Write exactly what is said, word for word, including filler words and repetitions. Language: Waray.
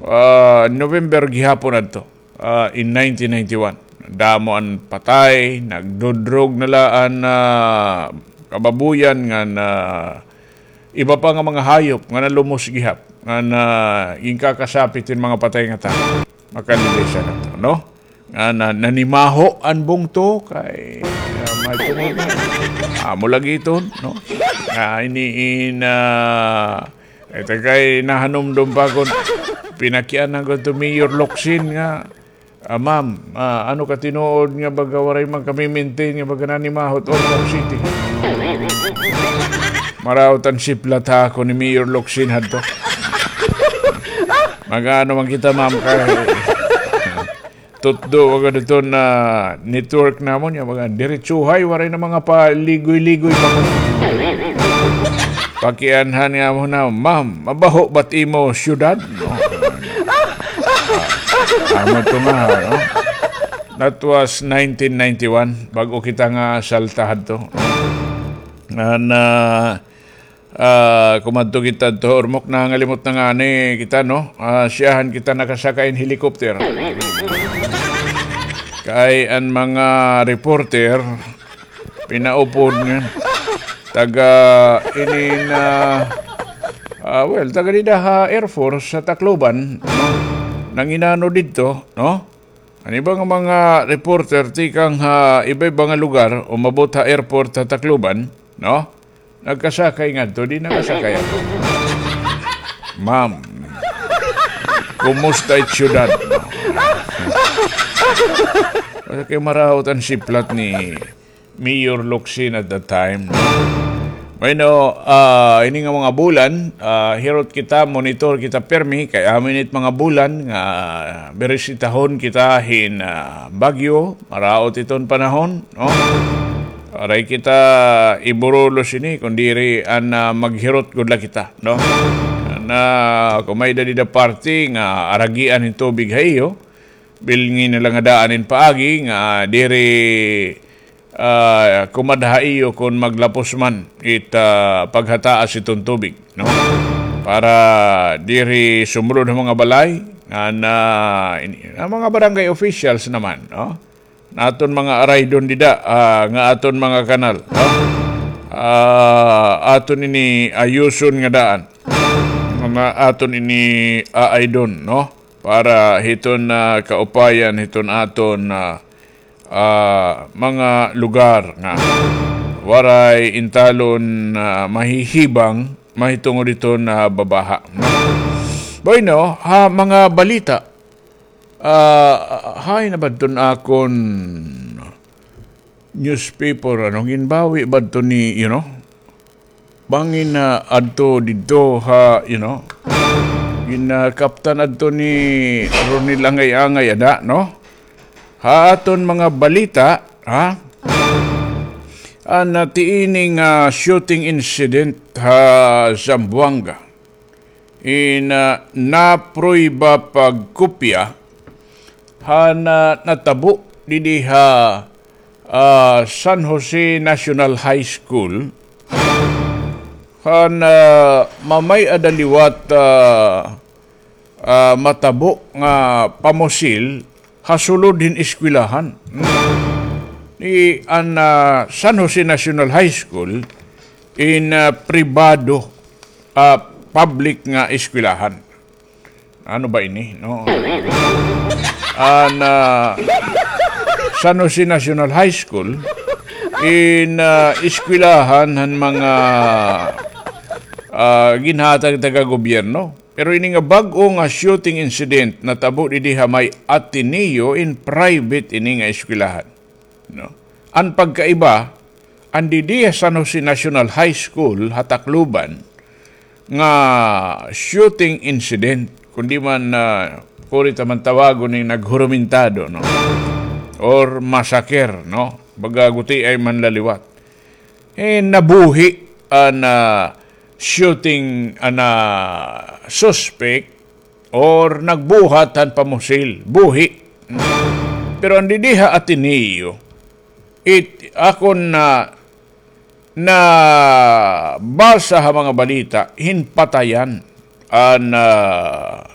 ah, November gihapon adto, ah, in nineteen ninety-one. Damo an patay, nagdudrog na la an, ah, kababuyan ngan, ah, iba pa nga mga hayop nga nalumos gihap, nga na, ginkakasapit hin mga patay nga tawo. Makanindot siya na to, no? Nga na, nanimaho an bungto kay, ah, may tungod. Amo lagi iton, no? Nga ini in, ah, ito kay nahanumdom pa kon pinakiana ko to Mayor Locsin nga, "Ah, ma'am, ah, ano ka tinuod nga baga waray man kami maintain nga baga nanimaho it Ormoc City?" Maraot an siplat ha ako ni Mayor Locsin hadto. Mag-ano man kita, ma'am, kay tutdo ka didto na network namon, nga mga diretsuhay, waray na mga paligoy-ligoy pa. Pakianhan nga mo na, "Ma'am, mabaho ba't imo syudad?" No? Ah, amo to nga, no? That was nineteen ninety-one, bag-o kita nga salta hadto. Nga na, ah, kumadto kita to Ormoc, nangalimot na ngani kita, no? Ah, siyahan kita nakasakay hin helicopter. Kay an mga reporter, pinaupod nga. Taga ini na, ah, well, taga dida ha Air Force sa Tacloban, no? Nanginano didto, no? An iba nga mga reporter tikang ha iba-iba nga lugar, umabot ha airport ha Tacloban, no? Nagkasakay ngadto, di nakasakay ako. "Ma'am, kumusta it syudad?" Kay maraot an siplat ni Mayor Locsin at that time. Bueno, ah, ini nga mga bulan, ah, hirot kita, monitor kita pirmi, kay amo ini it mga bulan nga birisitahon kita hin, ah, bagyo, maraot iton panahon, no? Waray kita iburulos ini, kun diri an, ah, maghirot gud la kita, no? Na, kun may-ada dida parte nga aragian hin tubig ha iyo, bilngi na la nga daan hin paagi nga diri, ah, kumadha ha iyo kun maglapos man it, ah, paghataas iton tubig, no? Para diri sumulod ha mga balay, nga na, ini, an mga barangay officials naman, no? An aton mga araydon dida, ah, nga aton mga kanal, no? Ah, aton ini ayuson nga daan. Nga aton ini aaydon, no? Para hiton, ah, kaupayan, hiton aton, ah, ah, mga lugar nga waray intalon, ah, mahihibang mahitungod hiton, ah, babaha, no? Bueno, ha mga balita, ah, hain na ba adton akon newspaper, ano, ginbawi ba adto ni, you know, bangin na adto didto ha, you know, ginakaptan adto ni Ronel Angay-angay ada, no? Ha aton mga balita, ha? An, ah, tiining, ah, shooting incident ha Zamboanga. In, ah, naprueba pagkopya han, ah, natabo didi ha, ah, San Jose National High School, han, ah, mamay-ada liwat, ah, ah, matabo nga pamusil ha sulod hin eskwelahan. Ni an, ah, San Jose National High School in, ah, pribado, ah, public nga eskwelahan. Ano ba ini, no? An, ah, San Jose National High School in, ah, eskwelahan han mga, ah, ginhatag taga gobyerno. Pero ini nga bag-o nga shooting incident natabo didi ha may Ateneo in private ini nga eskwelahan, no? An pagkaiba, an didi ha San Jose National High School ha Tacloban nga shooting incident, kundi man, ah, kuri ta man tawagon ni naghurumentado, no? Or massacre, no? Baga gutiay man la liwat. Eh, nabuhi an, ah, shooting, an, ah, suspect or nagbuhat han pamusil, buhi. Pero an didi ha Ateneo, it, akon na, nabasa ha mga balita, hin patayan an, ah,